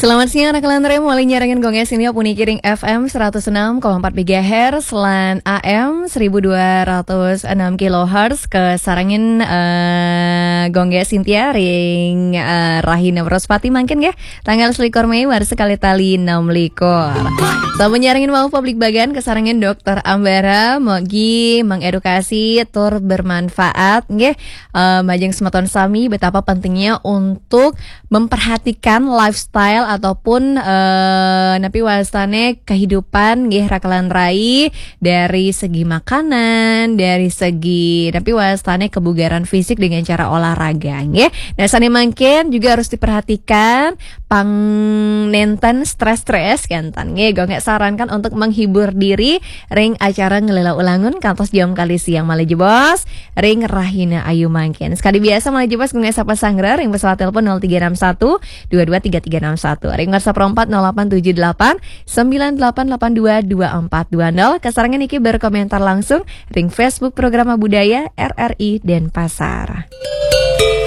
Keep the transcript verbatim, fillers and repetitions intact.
Selamat siang, anak Lantre. Mulai nyarengin Gong Sintia puniki ring F M seratus enam koma empat megahertz lan A M seribu dua ratus enam kilohertz. Kasarengin eh, Gong Sintia ring eh, Rahina Wraspati mangkin nggih. Tanggal selikur Mei, warsa kalih tali enam likur. Sampun nyarengin wau Publik Bagan, kasarengin Dokter Ambara, mogi mengedukasi tur bermanfaat nggih. Eh, majeng semeton sami, betapa pentingnya untuk memperhatikan lifestyle ataupun eh, napi wastane kehidupan nggih, raka lan rai, dari segi makanan, dari segi napi wastane kebugaran fisik dengan cara olahraga nggih. Nah, sane mangkin juga harus diperhatikan pang nenten stres-stres kenten nggih. Gong sarankan untuk menghibur diri ring acara Ngelela Ulangun kantos jam kalih siang malih jebos ring Rahina Ayu mangkin. Sekali biasa malih jebos Gong sapa sanggra ring pesawat telepon nol tiga enam satu dua dua tiga tiga enam satu. Ring WhatsApp empat nol delapan tujuh delapan sembilan delapan delapan dua dua empat dua nol. Kasarengin niki berkomentar langsung ring Facebook Programa Budaya R R I Denpasar.